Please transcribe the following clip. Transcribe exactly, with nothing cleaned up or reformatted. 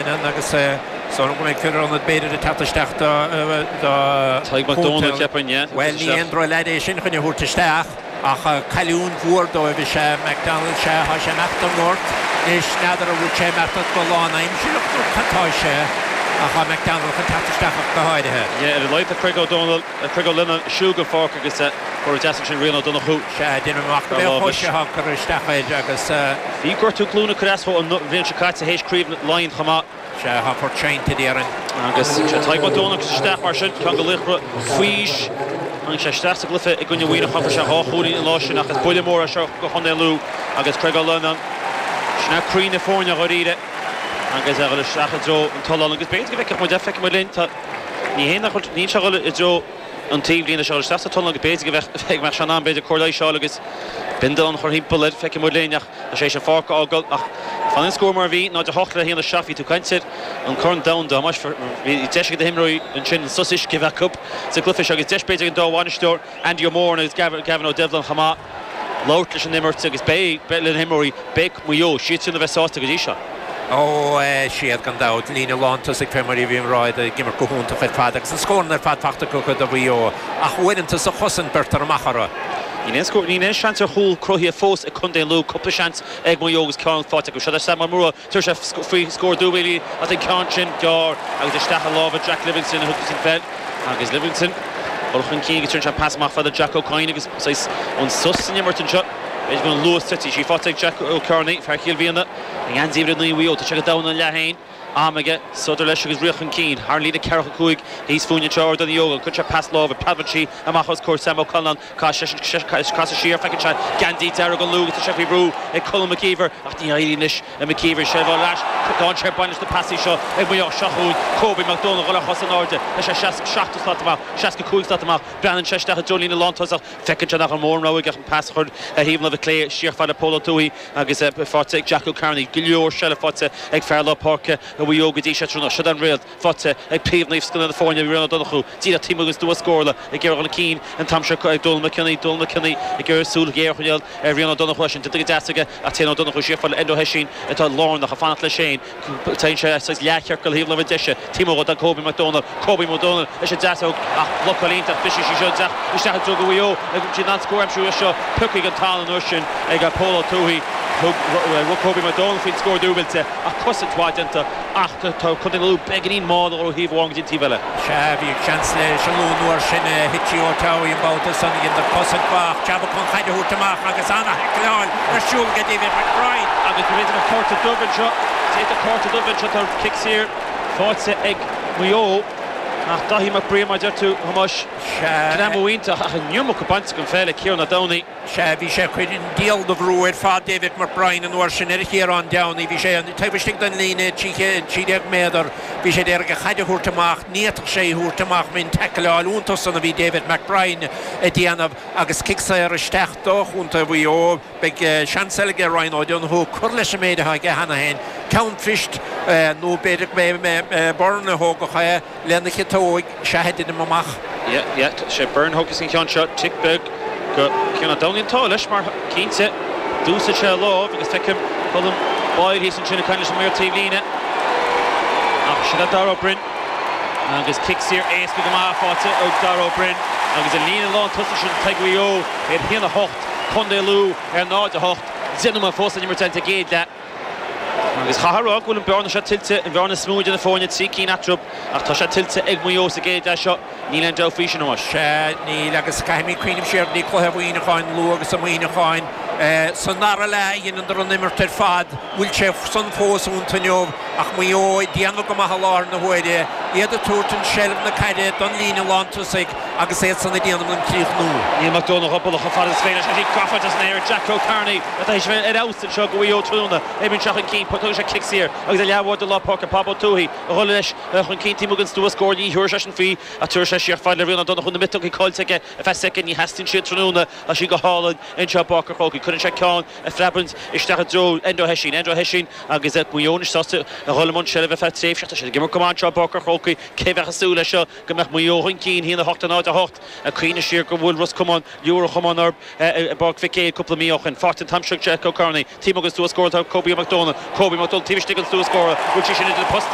Agus so go mbeidh fear ionaid b'fhéidir ag teacht isteach do Tadhg Mac Dónaill, ceapaim, yeah. Bhuel, ní aon droch-leaid é sin chun a thabhairt isteach, ach cailliúint mhór dóibh is ea McDonald, sea, tá sé imeacht don ngort anois, n'fheadar an bhfuil sé imeacht go lánaimsearach nó cad tá sé, ach tá McDonald chun teacht isteach ach go háirithe. Yeah, ar a laghad tá Craig O'Donnell, Craig Ó Lionnáin ag siúl den pháirc agus cóir deas ansin Rian Ó Donnchú. Sea, déanaim amach go mbeadh chois atá curtha isteach air agus. Bhí gortú glúine ag cur as dó an bhliain seo caite théis Craobh Laighean chomh maith. Sea, tá port seinnte, déarfainn. Agus sea, Tadhg Mac Dónaill isteach mar sin, ceann de laochra faoi aois. Tháinig sé isteach sa gcluiche i gcoinne Mhuineacháin, fuair sé dhá chúilín an lá sin ach is buille mór é seo do Chontae Lú agus Craig Ó Lionnáin, sin é croí na foirne dháiríre agus é a dhul isteach i dtreo an tollán agus b'fhéidir go bhfeicfeadh muid é, feicfidh muid linn, tá, ní hé nach bhfuil, níl sé a dhul i dtreo an taobhlíne, tá sé a dhul isteach sa tollán agus b'fhéidir go bheadh, go mbeadh sé in am b'fhéidir cóir leighis a fháil agus bindealán a chur thimpeall air, feicfidh muid linn ach tá sé théis an pháirc a fhágáil ach fanann an scór mar a bhí, náid a hocht le haon a seacht, bhí tú ag caint ar an Corn Domhanda, Thomáis, bhí deis ag na himreoirí ansin sos uisce a bheith acu sa gcluiche seo agus deis b'fhéidir ag an dá bhainisteoir, Andy O'Moran agus Gavin O'Devlin chomh maith, labhairt leis an imirt agus beidh, le na himreoirí, beidh Maigh Eo, siadsan a bheith sásta go dtí seo. Ó, siad gan dabht, líne lántosaigh fé mar a bhí á rá ag imirt go hiontach ar fad agus na scóranna ar fad fachta acu do Mhaigh Eo ach uaireanta sa chosaint beirtear amach orthu. Níl aon scór, níl aon seans ar chúl cruthaithe fós ag contae Lú, cúpla seans ag Maigh Eo agus ceann faighte acu. Seo é Sam Ó Mórdha, tabharfaidh sé faoi scór dúbailte as an ceann sin gearr agus isteach i lámha Jack Livingston a thug an pheil agus Livingston dul chun cinn agus tugann sé pas amach fada Jack Ó Cadhain agus saghas an sos san imirt anseo. B'fhéidir go bhfuil an luas tite sí faighte ag Jack Ó Cearnaigh, fear Chill Mhiadhna, i ngeansaí uimhir a naoi Mhaigh Eo. Tá sé go domhan an leath féin. Am aige, sodar leis agus rith chun cinn. Thar an líne ceathracha cúig thíos fúinn anseo Ardán Uí Ógáin. Cuireann sé pas láimhe, preabann sí amach os comhair Sam Ó Conláin. Casann seisean, casadh siar, feiceann sé geansaí dearg an Lú agus tá sé faoi bhrú ag Colm McKeever ach ní éiríonn leis McKeever seilbh a fháil ar ais. Dainséar bain leis na pasaí seo ag Maigh Eo. Seo chugainn Kobe Mac Dónaill a dhul ar chos in airde. Tá sé seasca seachtó slat amach, seasca cúig slat amach. Breathnaíonn sé isteach i dtreo líne lántosach. Feiceann sé nach raibh mórán rogha aige ach an pas a chur ar thaobh na láimhe clé siar fad le Pól Ó Tuathaigh agus faighte ag Jack Ó Cearnaigh. Go leor seilbh faighte ag fear lár páirce Mhaigh Eo go dtí seo tráthnóna. Seo an réalt faighte ag príomhnaomh scoil na foirne Rian Ó Donnchú. Díreach taobh amuigh den stua scórála ag iarraidh dul chun cinn an t-am seo ag Dónal McKinney. Dónal McKinney ag iarraidh súil ghéar a choinneáil ar Rian Ó Donnchú. É sin déanta go deas aige ach téann Ó Donnchú siar fad le Enda Ó hOisín atá lárnach ag fanacht leis féin. Téann sé saghas leathchiorcal thaobh láimhe deise. Taobh amuigh do Kobe McDonald. Kobe McDonald leis an deasóg ach blocáil iontach. Briseann sí seo isteach isteach i dtreo go Mhaigh Eo. Ag siad an scór aimsiú seo piocfaidh an t-am an uair sin ag Pól Ó Tuathaigh. Thug rug Kobe McDonald faoin scór dúbailte ach cosaint mhaith déanta ach tá Contae na Lú beagáinín mall ó thaobh amháin go dtí an taobh eile. Sea, bhí seans leis an Lú an uair sin thit sí ó Towie an babhta san dhéanamh cosaint mhaith jab chun caid a thabhairt amach agus an-thaicleáil ar siúl ag David McBride. Agus b'fhéidir cárta dubh anseo, d'fhéadfadh cárta dubh anseo tá cic saor faighte ag Maigh Eo ach Daithí Mac Briain mar deir tú Thomáis greamú iontach ach an iomarca bainte den pheil ag Ciarán Ó Domhnaigh. Sea, bhí sé chuir an diabhal de bhrú ar fad David McBride an uair sin ar Chiarán Downey, bhí sé taobh istigh den líne trí déag méadar, bhí sé d'iarraidh an chaid a thabhairt amach, ní fhéadfadh sé í thabhairt amach min taicleáil iontach san a bhí David McBride ag déanamh agus cic saor isteach do Chontae Mhaigh Eo. Beidh seans eile aige Ryan O'Donoghue cur leis an méid atá aige cheana féin, ceann phoist nó b'fhéidir go mbeidh Byrne a thógfadh é lena chiotóig, sea, a deinim amach. Yeah, yeah, sé Byrne a thógfas an ceann seo, tic beag go Ciarán Ó Domhnaigh an t-ádh leis mar cinnte d'úsáid sé a lámh agus feicim Colm Boyle thíos ansin ag caint leis an maor taobhlíne ach sin é Dara Ó Broin agus cic saor éasca go maith faighte ag Dara Ó Broin agus an líne lán tosaigh sin ag Maigh Eo ar haon a hocht, Contae Lú ar náid a hocht, deich nóiméad fós le himirt sa gcéad leath. Agus chaithfeá a rá go bhfuil an bearna seo tuillte, an bhearna is mó idir na foirne, trí cinn eatarthu, ach tá sé tuillte ag Maigh Eo sa gcéad leath seo, níl aon dabht faoi sin, a Thomáis. Sea, níl, agus caithfimid cuimhneamh siar go dtí cluiche Mhuineacháin, Lú agus Muineacháin. Sa ndara leath a dheineadar an imirt ar fad, bhfuil sé san fós iontu inniu, ach Maigh Eo ag déanamh go maith i láthair na huaire, iad ag tabhairt an seilbh na caide don líne lántosaigh agus iad san ag déanamh an críochnú. Níl Mac Dónaill chomh buille chomh fada is féidir leis, tá sí gafa san aer ag Jack O'Kearney atá théis a bheith ar fheabhas anseo do Mhaigh Eo tráthnóna. Oibríonn sé chun cinn, tugann sé cic saor agus a leathbhád de lár páirce, Pab Ó Tuathaigh a dhul leis chun cinn taobh amuigh den stua scóir, ní thiúrfaidh seisean faoi ach tabharfaidh sé siar fad le Rian Ó Donnchú, na miotógaí caillte aige ar feadh soicind, ní theastaíonn siad tráthnóna, tá sí go hálainn anseo i bPáirc an Chrócaigh. Cuireann sé ceann a phreabann isteach i dtreo Enda Hession Enda Hession agus Maigh Eo sásta a dhul i mbun seilbhe feadh tréimhse sé ag imirt go maith anseo i bPáirc an Chrócaigh cé bheadh ag súil leis seo go mbeadh Maigh Eo chun cinn haon a hocht a náid a hocht a cuimhnigh siar gur bhuail Ros Comáin Iúr Chomáin orthu i bPáirc Mhic Éil cúpla mí ó shin faighte an t-am seo Jack O'Kearney taobh amuigh den stua scórála Kobe McDonald Kobe McDonald taobh istigh den stua scórála bhfuil sí sin idir postaí